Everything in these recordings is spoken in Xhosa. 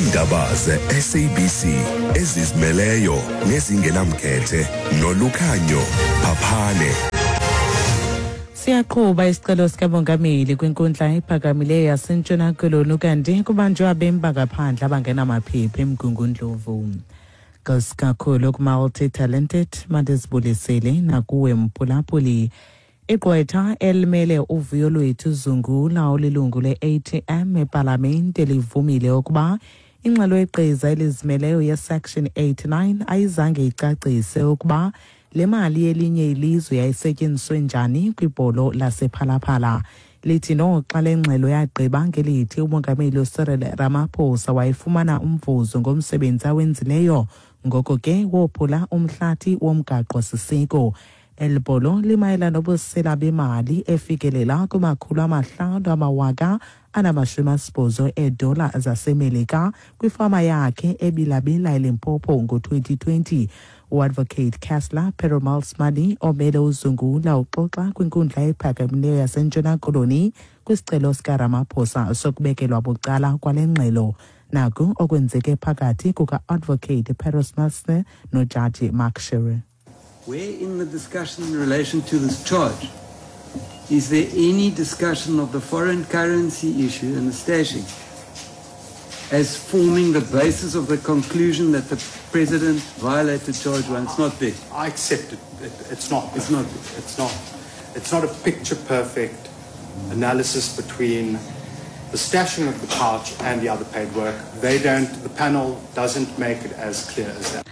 Iindaba ze-SABC ezizimeleyo nezingenamkhethe nolukhanyo Phaphane. Siyaqhuba isicelo sikamongameli kwinkundla ephakamileyo yaseNtshona Koloni kanti kubanjwe abemi bangaphandle abangenamaphepha eMgungundlovu. Kakhulu ku-multi-talented mandizibulisele nakuwe mphulaphuli. Igqwetha elimele uvuyo lwethu Zungula olilungu le-ATM epalamente livumile ukuba ingxelo yegqiza elizimeleyo ye-Section 89 ayizange icacise ukuba le mali yelinye ilizwe yayisetyenziswe njani kwibholo lasePhalaphala. Lithi noxa le ngxelo yagqiba ngelithi umongameli uCyril Ramaphosa wayefumana umvuzo ngomsebenzi awenzileyo, ngoko ke wophula umhlathi womgaqo-siseko. Eli bholo limayela nobusela bemali efikelela kuma-580,000 eedola zaseMelika kwifama yakhe ebilabila eLimpopo ngo-2020. Uadvocate Kessler Perumal-Smani omele uZungula uxoxa kwinkundla ephakamileyo yaseNtshona Koloni kwisicelo sikaRamaphosa sokubekelwa bucala kwale ngxelo. Naku okwenzeke phakathi kuka-advocate Perumal-Smani nojaji Mark Sherry. Where in the discussion in relation to this charge is there any discussion of the foreign currency issue and the stashing as forming the basis of the conclusion that the president violated charge one? It's not there. I accept it. It's not. It's not there. It's not. It's not a picture-perfect analysis between the stashing of the pouch and the other paid work. They don't, the panel doesn't make it as clear as that.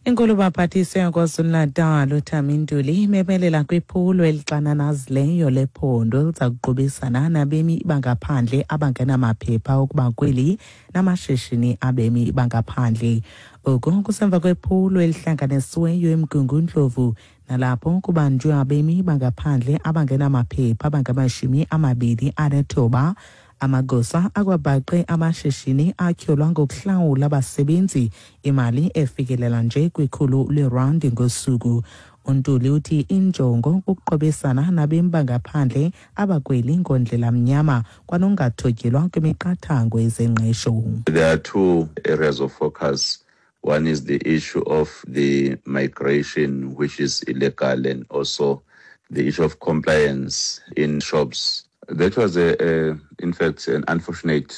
Inkulu baphathiswa yaKwaZulu-Natal uThami Ntuli imemelela kwiphulo elixananazileyo lephondo eliza kuqubisana nabemi bangaphandle abangenamaphepha okuba kweli namashishini abemi bangaphandle. Oku kusemva kwephulo elihlanganisiweyo eMgungundlovu nalapho kubanjwe abemi bangaphandle abangenamaphepha abangama-29. Amagosa akwabhaqe amashishini atyholwa ngokuhlawula abasebenzi imali efikelela nje kwikhulu lerandi ngosuku. UNtuli uthi injongo kukuqobisana nabemi bangaphandle abakweli ngondlela mnyama kwanongathotyelwa kwimiqathango yezengqesho. There are two areas of focus. One is the issue of the migration, which is illegal, and also the issue of compliance in shops. That was, in fact, an unfortunate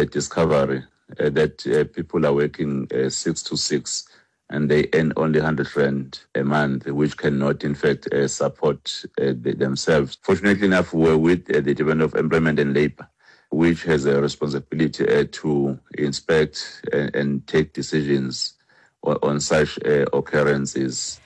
discovery that people are working 6 to 6 and they earn only 100 rand a month, which cannot, in fact, support themselves. Fortunately enough, we're with the Department of Employment and Labor, which has a responsibility to inspect and take decisions on such occurrences.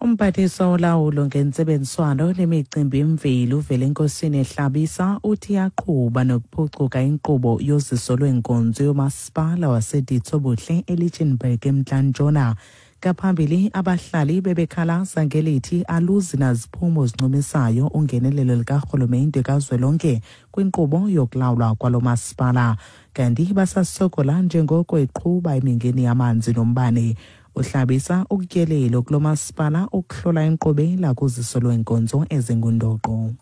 Umphathiswa olawulo ngentsebenziswano nemicimbi yemveli uVelenkosini Hlabisa uthi iyaqhuba nokuphucuka inkqubo yoziso lweenkonzo yomasipala waseDitsobuhle eLichtenburg eMntla-Ntshona. Ngaphambili abahlali bebekhalaza ngelithi aluzi naziphumo zincumisayo ungenelelo likarhulumente kazwelonke kwinkqubo yokulawulwa kwalo masipala. Kanti basasokola njengoko iqhuba imingeni yamanzi nombane. Uhlabisa ukutyelelo kulo masipala ukuhlola inkqubela kuziso lweenkonzo ezingundoqo.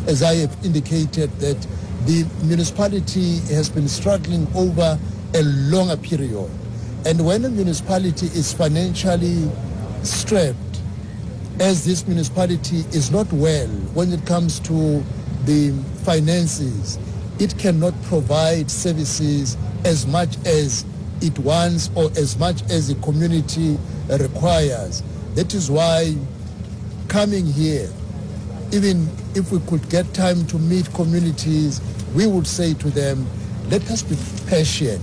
As I have indicated, that the municipality has been struggling over a longer period. And when a municipality is financially strapped, as this municipality is not well when it comes to the finances, it cannot provide services as much as it wants or as much as the community requires. That is why coming here, even if we could get time to meet communities, we would say to them, let us be patient.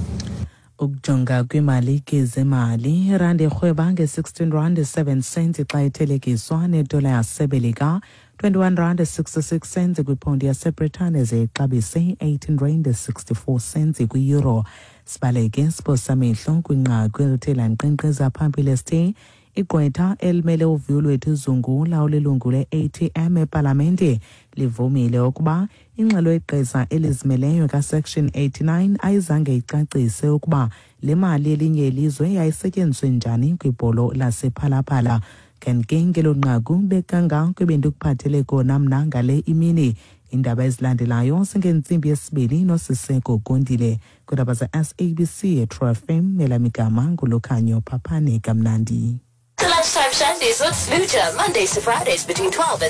Ukujonga kwimali ke zemali, irandi irhweba nge-16 rand 7 cents xa ithelekiswa nedola yasemelika, 21 rand 66 cents kwiphondi yaseBritane, ze ixabise 18 rand 64 cents kwi-euro. Sibaleke siphosa amehlo kwinqaku elithe lankqenkqeza phambili esithe igqwetha elimele uvuyo lwethu Zungula olilungu le-ATM epalamente livumile ukuba ingxelo yegqiza elizimeleyo kaSection 89 ayizange icacise ukuba le mali elinye ilizwe yayisetyenziswe njani kwibholo lasePhalaphala. Kanti ke ngelo nqaku bekangako ebendikuphathele kona mna ngale imini. Iindaba ezilandelayo zingentsimbi yesibini noSiseko Gondile kwiindaba ze-SABC eTru FM. Elamigama nguLukhanyo Phaphane. Kamnandi. The Lunchtime Shandies with Smoocher, Mondays to Fridays between 12 and